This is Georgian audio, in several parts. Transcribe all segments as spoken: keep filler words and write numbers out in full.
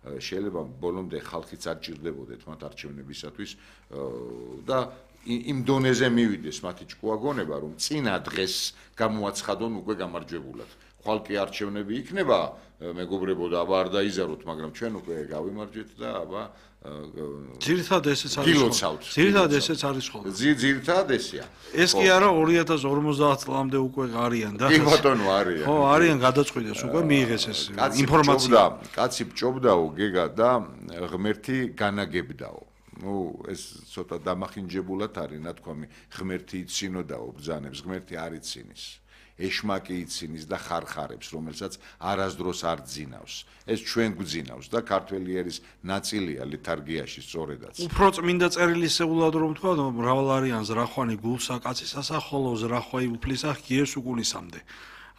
შეიძლება ბოლომდე ხალხიც არ ჭირდებოდეთ მათ არჩევნებისათვის და იმ დონეზე მივიდეს მათი ჭკუაგონება, რომ წინა დღეს გამოაცხადონ უკვე გამარჯვებულად. ხვალ კი არჩევნები იქნება, მეგობრებო და აბა არ დაიზაროთ, მაგრამ ჩვენ უკვე გავიმარჯვეთ და აბა ძირითადად ესეც არის ხოლმე. ძირითადად ესეც არის ხოლმე. ძირითადად ესეა. ეს კი არა ორი ათას ორმოცდაათ წლამდე უკვე არიან და კი ბატონო არიან. ხო, არიან გადაწყვიტეს უკვე მიიღეს ეს ინფორმაცია. კაცი ჭობდაო გეგა და ღმერთი განაგებდაო. ну ეს ცოტა დამახინჯებულად არის ნათქვამი ღმერთი იცინოდაო ბრძანებს ღმერთი არ იცინის ეშმაკი იცინის და ხარხარებს რომელსაც არასდროს არ ძინავს ეს ჩვენ გვძინავს და ქართველი ერის ნაწილია ლითარგიაში სწორედაც უფრო წმინდა წერილისეულად რომ თქვა მრავალ არიან ზრახვანი გულსა კაცისასა ხოლო ზრახვაი უფლისა ღიეს უკუნისამდე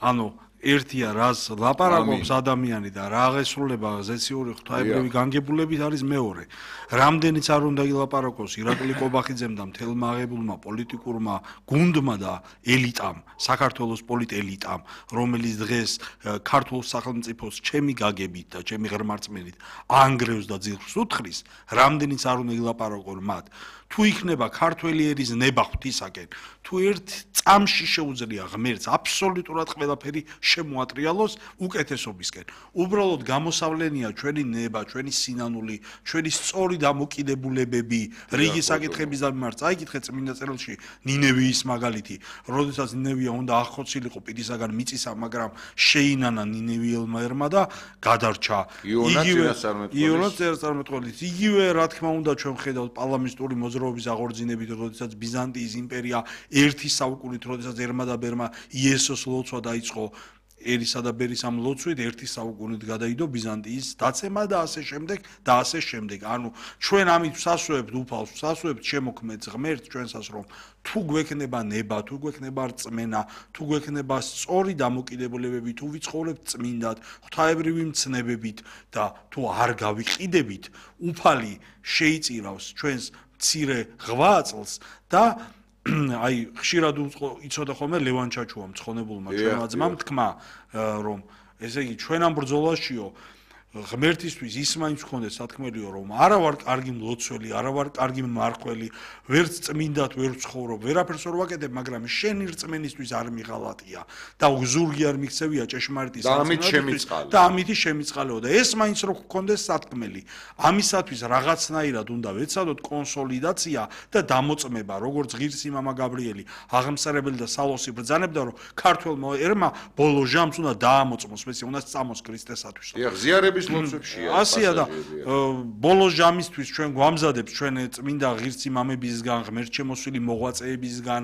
ანუ ერთია რას ლაპარაკობს ადამიანი და რა აღესრულება ზეციური ღვთაებრივი განგებულებით არის მეორე. რამდენიც არ უნდა ილაპარაკოს ირაკლი კობახიძემ და მთელმა აღებულმა პოლიტიკურმა გუნდმა და ელიტამ, საქართველოს პოლიტ ელიტამ, რომელიც დღეს ქართულ სახელმწიფოს ჩემი გაგებით და ჩემი ღრმარწმენით ანგრევს და ძირს უთხრის, რამდენიც არ უნდა ილაპარაკონ მათ. თუ იქნება ქართველი ერის ნება ღვთისაკენ, თუ ერთ წამში შეუძლია ღმერთს აბსოლუტურად ყველაფერი შემოატრიალოს უკეთესობისკენ. უბრალოდ გამოსავლენია ჩვენი ნება, ჩვენი სინანული, ჩვენი სწორი დამოკიდებულებები რიგი საკითხების მიმართ. წაიკითხეთ წმინდა წერილში ნინევიის მაგალითი, როდესაც ნინევია უნდა აღხოცილიყო პირისაგან მიწისა, მაგრამ შეინანა ნინევიელმა ერმა და გადარჩა. იგივე წინასწარმეტყველით, იგივე რა თქმა უნდა ჩვენ ხედავთ პალამისტური მოძრაობის აღორძინებით, როდესაც ბიზანტიის იმპერია ერთი საუკუნით, როდესაც ერმა და ბერმა იესოს ლოცვა დაიწყო ერისა და ბერის ამ ლოცვით ერთი საუკუნით გადაიდო ბიზანტიის დაცემა და ასე შემდეგ და ასე შემდეგ. ანუ ჩვენ ამით ვსასვევებთ უფალს, ვსასვევებთ შემოქმედს ღმერთს ჩვენსას რომ თუ გვექნება ნება, თუ გვექნება რწმენა, თუ გვექნება სწორი დამოკიდებულებები, თუ ვიცხოვრებთ წმინდად, ღვთაებრივი მცნებებით და თუ არ გავიყიდებით, უფალი შეიწირავს ჩვენს მცირე ღვაწლს და აი ხშირად იცოდა ხოლმე ლევან ჩაჩუა მცხონებულმა ჩვენმა ძმამ თქმა რომ ესე იგი ჩვენ ამ ბრძოლაშიო ღმერთისთვის ის მაინც გქონდეს სათქმელიო რომ არა ვარ კარგი მლოცველი, არა ვარ კარგი მმარხველი, ვერც წმინდად ვერ ვცხოვრობ, ვერაფერს ვერ ვაკეთებ, მაგრამ შენი რწმენისთვის არ მიღალატია და ზურგი არ მიქცევია ჭეშმარიტის საწინააღმდეგო და ამითი შემიწყალეო და ეს მაინც რო გქონდეს სათქმელი. ამისათვის რაღაცნაირად უნდა ვეცადოთ კონსოლიდაცია და დამოწმება, როგორც ღირსი მამა გაბრიელი, აღმსარებელი და სალოსი ბრძანებდა, რომ ქართველმა ერმა ბოლო ჟამს უნდა დაამოწმოს, მეცი უნდა წამოს ქრისტესათვის. ზიარები ლოცვებშია. ასია და ბოლო ჟამისთვის ჩვენ გვამზადებს ჩვენ წმინდა ღირსი მამებისგან, ღმერთშემოსვილი მოღვაწეებისგან,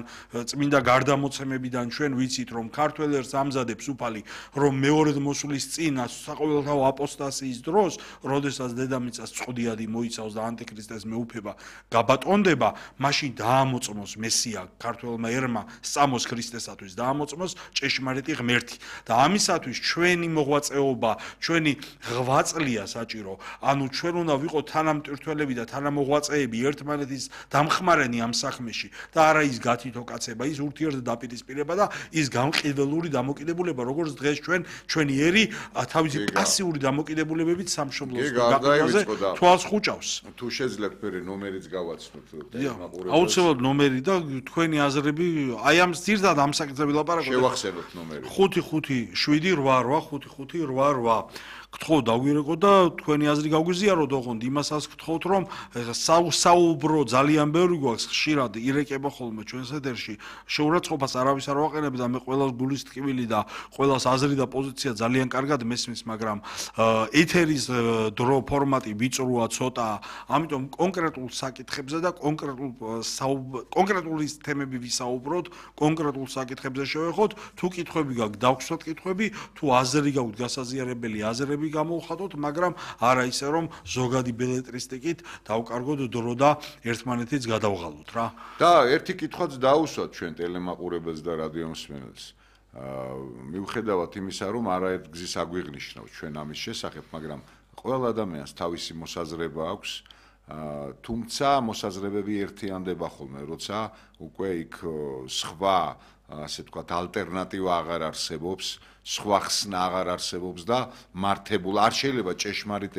წმინდა გარდამოცემებიდან ჩვენ ვიცით რომ ქართველ ერს ამზადებს უფალი, რომ მეორედ მოსulis წინ საყოველთაო აპოსტასიის დროს, როდესაც დედამიწას წყდიადი მოიცავს და ანტიქრისტეს მეუფება გაბატონდება, მაშინ დაამოწმოს მესია ქართველმა ერმა სწამოს ქრისტესათვის, დაამოწმოს ჭეშმარიტი ღმერთი და ამისათვის ჩვენი მოღვაწეობა, ჩვენი ღვაწლია საჭირო. ანუ ჩვენ უნდა ვიყოთ თანამტვირთველები და თანამოღვაწეები ერთმანეთის დამხმარენი ამ საქმეში და არა ის გათითო კაცება, ის ურთიერთდაპირისპირება და ის გამყიდველური დამოკიდებულება, როგორც დღეს ჩვენ ჩვენი ერი თავისი პასიური დამოკიდებულებებით სამშობლოს გაყიდვაზე თვალს ხუჭავს. თუ შეძლებთ მე ნომერიც გავაცნოთ მაყურებელს. აუცილებლად ნომერი და თქვენი აზრები აი ამ ძირთად ამ საკითხები ლაპარაკობთ. შევახსენოთ ნომერი. ხუთი ხუთი შვიდი რვა რვა ხუთი ხუთი რვა რვა გთხოვ დაგვირეკო და თქვენი აზრი გავგვიზიაროთ ოღონდ იმასაც გთხოვთ რომ საუბრო ძალიან ბევრი გვაქვს ხშირად ირეკება ხოლმე ჩვენს ეთერში შეურაცხყოფას არავის არ ვაყენებ და მე ყველას გულის ტკივილი და ყველას აზრი და პოზიცია ძალიან კარგად მესმის მაგრამ ეთერის დრო ფორმატი ვიწროა ცოტა ამიტომ კონკრეტულ საკითხებზე და კონკრეტულ კონკრეტული თემები ვისაუბროთ კონკრეტულ საკითხებზე შევეხოთ თუ კითხვები გაქვთ დავგვსვათ კითხვები თუ აზრი გაქვთ გასაზიარებელი აზრები გამოვხატოთ, მაგრამ არა ისე რომ ზოგადი ბელეტრისტიკით დავკარგოთ დრო და ერთმანეთიც გადავღალოთ რა. და ერთი კითხვაც დაუსვათ ჩვენ ტელემაყურებელს და რადიომსმენელს. მიუხედავად იმისა, რომ არაერთ გზის აგვიღნიშნავთ ჩვენ ამის შესახებ, მაგრამ ყველა ადამიანს თავისი მოსაზრება აქვს, თუმცა მოსაზრებები ერთიანდება ხოლმე, როცა უკვე იქ სხვა ასე ვთქვათ, ალტერნატივა აღარ არსებობს, სხვა ხსნა აღარ არსებობს და მართებულ არ შეიძლება ჭეშმარიტ